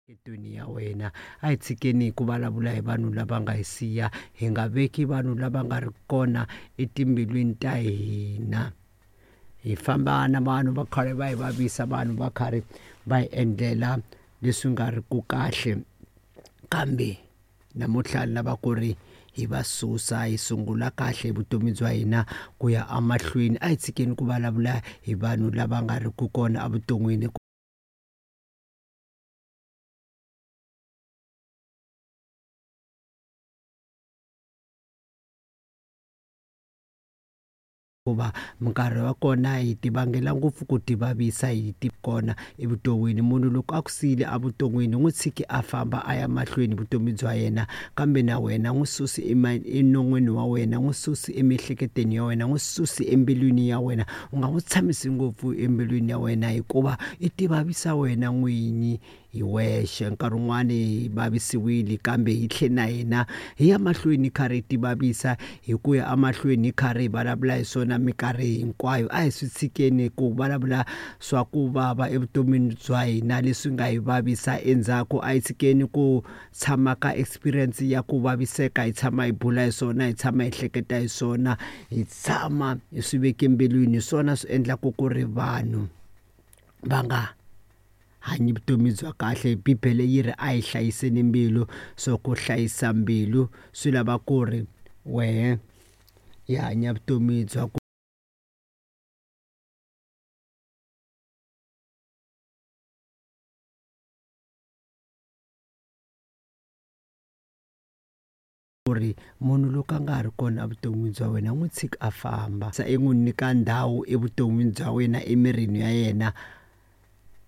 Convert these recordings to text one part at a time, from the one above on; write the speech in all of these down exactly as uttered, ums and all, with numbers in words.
Etweni ya wena a hi tshikeni ku vulavula hi vanhu lava nga hi siya, hi nga veki vanhu lava nga ri kona etimbilwini ta hina. Hi famba na vanhu va karhi va hi vavisa, vanhu va karhi va hi endlela leswi nga ri ku kahle, kambe namuntlha ni lava ku ri hi va susa hi sungula kahle vutomi bya hina ku ya emahlweni. A hi tshikeni ku vulavula hi vanhu lava nga ri ku kona evuton'wini. Hikuva minkarhi wa kona hi ti vangela ngopfu ku ti vavisa hi ti kona evuton'wini. Munhu loko a ku siyile evuton'wini n'wi tshiki a famba a ya mahlweni vutomi bya yena, kambe na wena n'wi susi enon'wini wa wena, n'wi susi emiehleketweni ya wena, n'wi susi embilwini ya wena. U nga n'wi tshamisi ngopfu embilwini ya wena hikuva i ti vavisa wena n'winyi hi wexe. Nkarhi wun'wani hi vavisiwile kambe hi tlhe na hina hi ya mahlweni hi karhi hi ti vavisa hi ku ya emahlweni hi karhi hi vulavula hi swona minkarhi hinkwayo. A hi swi tshikeni ku vulavula swa ku vava evutomini bya hina leswi nga hi vavisa endzhaku. A hi tshikeni ku tshama ka experience ya ku vaviseka, hi tshama hi bula hi swona, hi tshama hi hleketa hi swona, hi tshama hi swi veke mbilwini. Hi swona swi endlaka ku ri vanhu va nga hanyi vutomi bya kahle. Bibele yi ri a hi hlayiseni mbilu, so ku hlayisa mbilu swi lava ku ri wehe i hanya vutomi bya ku ri munhu loko a nga ha ri kona evuton'wini bya wena n'wi tshiki a famba, se i n'wi nyika ndhawu evuton'wini bya wena, emirini ya yena.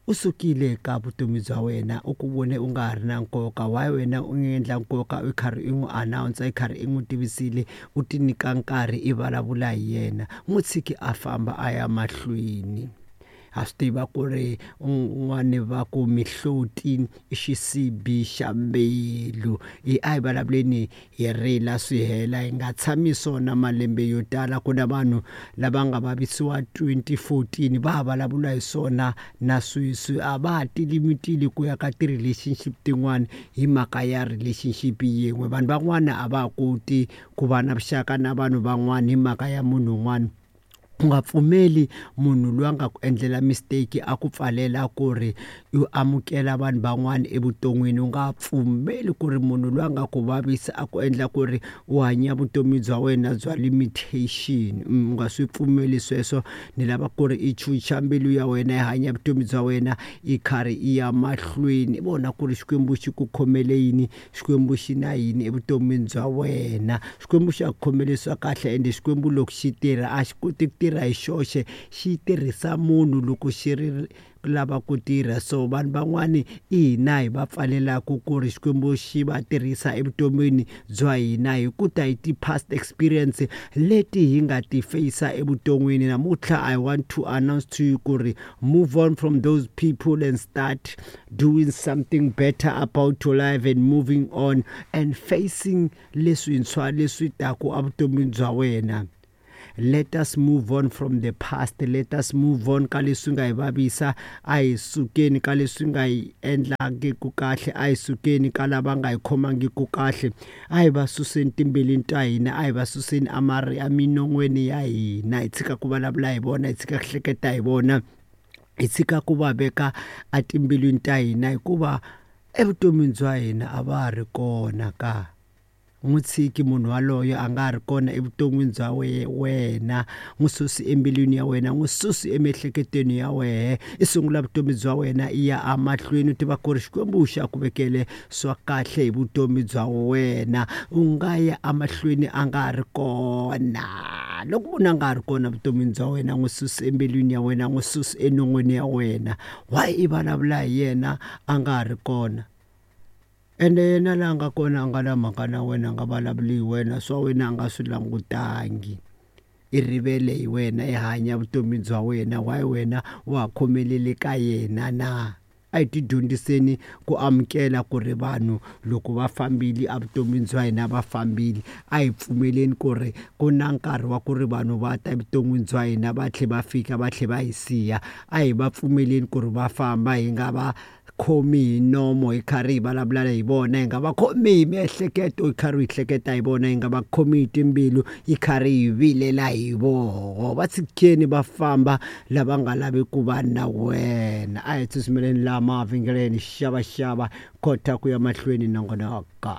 U sukile ka vutomi bya wena, u ku vone u nga ha ri na nkoka. Why wena u endla nkoka u karhi i n'wi announce, i karhi i n'wi tivisile, u ti nyika nkarhi i vulavula hi yena. N'wi tshiki a famba a ya mahlweni. Ha swi tiva ku ri un'wani va ku mihloti i xisibi xa mbilu. I a hi vulavuleni hi rila swi hela, hi nga tshami swona malembe yo tala. Ku na vanhu lava nga vavisiwa twenty fourteen va ha vulavula hi swona na sweswi, a va ha tilimitile ku ya ka ti-relationship tin'wani hi mhaka ya relationship yin'we. Vanhu van'wana a va ha koti ku va na vuxaka na vanhu van'wana hi mhaka ya munhu un'wana. U nga pfumeli munhu loyi a nga ku endlela mistake a ku pfalela ku ri u amukela vanhu van'wana evuton'wini. U nga pfumeli ku ri munhu loyi a nga ku vavisa a ku endla ku ri u hanya vutomi bya wena bya limitation. U nga swi pfumeli sweswo. Ni lava ku ri i chucha mbilu ya wena, i hanya vutomi bya wena i karhi i ya mahlweni. Vona ku ri Xikwembu xi ku khomele yini, Xikwembu xi na yini evuton'wini bya wena. Xikwembu xa ku khomele swa kahle, ende Xikwembu loko xi tirha a xi koti ku tirha hi xoxe, xi tirhisa munhu loko xi ri lava ku tirha. So vanhu van'wani i hina hi va pfalelaka ku ri Xikwembu xi va tirhisa evuton'wini bya hina hi ku ta hi ti-past experience leti hi nga ti face evuton'wini. Namuntlha I want to announce to you ku ri move on from those people and start doing something better about your life and moving on and facing leswintshwa leswi taku evuton'wini bya wena. Let us move on from the past. Let us move on ka leswi nga hi vavisa. A hi sukeni ka leswi nga hi endlangiku kahle, a hi sukeni ka lava nga hi khomangiku kahle. A hi va suseni timbilwini ta hina, a hi va suseni eminon'wini ya hina. Hi tshika ku vulavula hi vona, hi tshika ku hleketa hi vona, hi tshika ku va veka etimbilwini ta hina, hikuva evuton'wini bya hina a va ha ri kona ka. N'wi tshiki munhu waloye a nga ha ri kona evuton'wini bya wena, n'wi susi embilwini ya wena, n'wi susi emiehleketweni ya wena. I sungula vutomi bya wena i ya emahlweni, u tiva ku ri Xikwembu xa ku vekele swa kahle hi vutomi bya wena. U nga ya emahlweni a nga ha ri kona. Loko munhu a nga ha ri kona evuton'wini bya wena, n'wi susi embilwini ya wena, n'wi susi enon'wini ya wena. Why i vulavula hi yena a nga ha ri kona? Ende yena laha nga kona a nga na mhaka na wena, a nga vulavuli hi wena, swa wena a nga swi langutangi. I rivele hi wena, i hanya vutomi bya wena. Why wena wa ha khomelele ka yena na? A hi ti dyondziseni ku amukela ku ri vanhu loko va fambile evuton'wini bya hina va fambile. A hi pfumeleni ku ri ku na nkarhi wa ku ri vanhu va ta evuton'wini bya hina va tlhela va fika va tlhela va hi siya. A hi va pfumeleni ku ri va famba, hi nga va khomi hi nomo hi karhi hi vulavula hi vona, hi nga va khomi hi miehleketo hi karhi hi hleketa hi vona, hi nga va khomi hi timbilu hi karhi hi vilela hi voho. Va tshikeni va famba lava nga lavi ku va na wena. A hi tsutsumeleni laha mavhengeleni, xavaxava kota ku ya mahlweni nongonoko.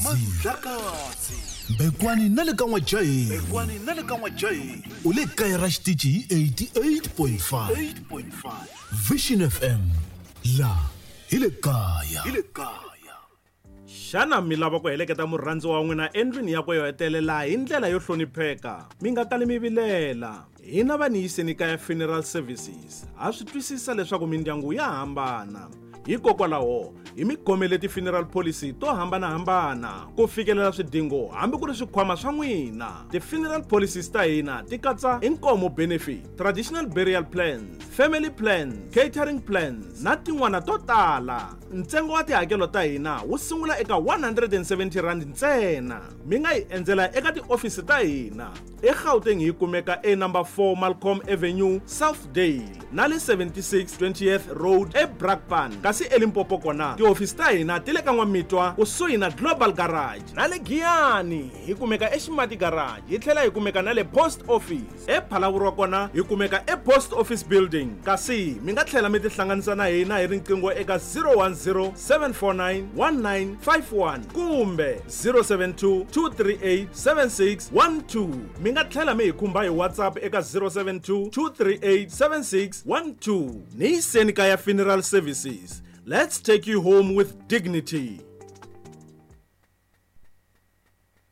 Mandlakazi Bekwani na le ka N'wajahi Bekwani na le ka N'wajahi u le kaya ra xitichi hi eighty-eight point five Vision F M la hi le kaya hi le kaya. Xana mi lava ku heleketa murhandzi wa n'wina endlwini yakwe yo hetelela hi ndlela yo hlonipheka? Mi nga kali mi vilela. Hina va Niyiseni Kaya Funeral Services ha swi twisisa leswaku mindyangu ya hambana. Hikokwalaho hi mi khomele ti-funeral policy to hambanahambana ku fikelela swidingo hambi ku ri swikhwama swa n'wina. Ti-funeral policies ta hina ti katsa inkomo benefit, traditional burial plans, family plans, catering plans na tin'wana to tala. Ntsengo wa tihakelo ta hina wu sungula eka one hundred and seventy rand ntsena. Mi nga hi endzela eka tiofisi ta hina eGauteng hi kumeka e number four Malcolm Avenue, Southdale na le seventy-six twentieth Road eBrakpan. Kasi eLimpopo kona tiofisi ta hina ti le ka N'wamitwa kusuhi na Global Garage na le Giyani hi kumeka eXimati Garage, hi tlhela hi kumeka na le Post Office. ePhalaborwa kona hi kumeka ePost Office Building. Kasi mi nga tlhela mi tihlanganisa na hina hi riqingho eka zero one zero seven four nine one nine five one kumbe zero seven two two three eight seven six one two. Mi nga tlhela mi hi khumba hi WhatsApp eka zero seven two two three eight seven six one two. Niyiseni Kaya Funeral Services. Let's take you home with dignity.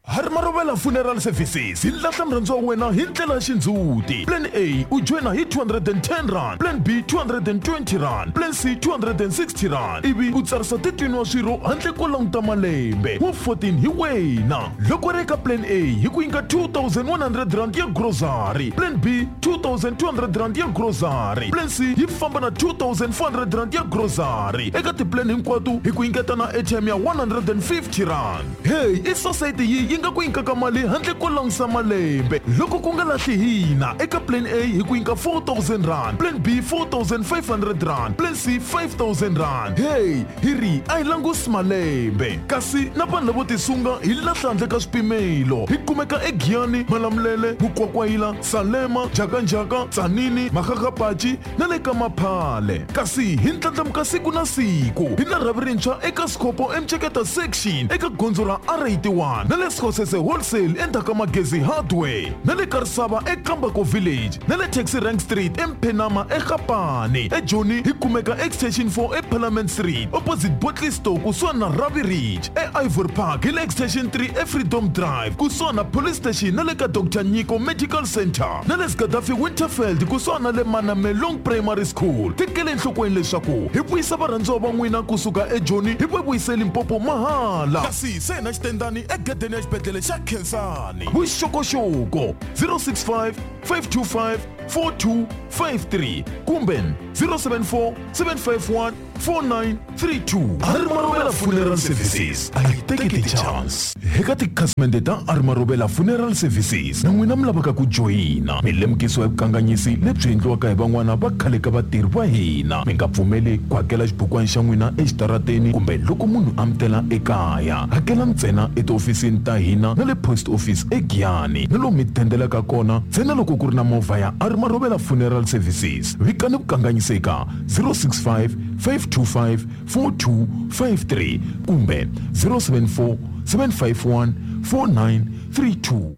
Hari Marobela Funeral Services hi lahla murhandziwa wa wena hi ndlela ya xindzhuti. Plan A u joyina hi two hundred and ten rand, Plan B two hundred and twenty rand, Plan C two hundred and sixty rand. Ivi u tsarisa thirteen wa swirho handle ko languta malembe wa fourteen hi wena. Loko ri eka Plan A hi ku nyika two thousand one hundred rand ya grocery, Plan B two thousand two hundred rand ya grocery, Plan C yi famba na two thousand four hundred rand ya grocery. Eka tiplan hinkwato hi ku nyiketa na airtime ya one hundred and fifty rand. Hey, i society yi yi nga ku nyikaka mali handle ko langutisa malembe. Loko ku nga lahli hina eka Plan A hi ku nyika four thousand rand, Plan B four thousand five hundred rand, Plan C five thousand rand. Hey, hi ri a hi langusi malembe. Kasi na vanhu lavo tisunga hi lahla handle ka swipimelo. Hi kumeka eGiyani, Malamulele, Mukwakwayila, Salema, Jakanjaka, Tsanini, Makgakgapachi na le ka Maphale. Kasi hi ndlandlamuka siku na siku. Hi na rhavi rintshwa eka Sikopo eMceketa section eka gondzo ra R eighty-one na le Skhosese Wholesale endzhaku ka Magezi Hardware na le Karisava eKambako Village na le Taxi Rank Street eMphenama eGapane. eJoni hi kumeka Extension four eParliament Street opposite Botley Store kusuhani na Ravi Ridge. E-Ivory Park hi le Extension three eFreedom Drive kusuhani na Police Station na le ka Doctor Nyiko Medical Center na le Gaddafi Winterfeld kusuhani na le Manamelong Primary School. Tekele enhlokweni leswaku hi vuyisa varhandziwa va n'wina kusuka eJoni hi va vuyise Limpopo mahala. Kasi se na xitendani egedeni ya xibedhlele xa Khensani. Vuxokoxoko zero six five five two five four two five three kumbe zero seven four seven five one four nine three two. Hari Marobela Funeral Services a yi teki ti-chance. Eka tikhasimende ta Hari Marobela Funeral Services na n'wina mi lavaka ku joyina, mi lemukisiwa hi vukanganyisi lebyi endliwaka hi van'wana va khale ka vatirhi va hina. Mi nga pfumeli ku hakela xibukwana xa n'wina exitarateni kumbe loko munhu a mi tela ekaya. Hakela ntsena etihofisini ta hina na le post office eGiyani na lomu mi dendelaka kona ntsena loko ku ri na movha ya Hari Marobela Funeral Services. Vikani vukanganyisi eka zero six five five two five four two five three kumbe zero seven four seven five one four nine three two.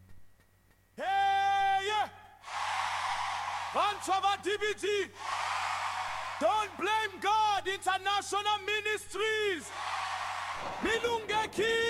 Hey, yeah. D B T. Don't blame God International Ministries. Milungeki.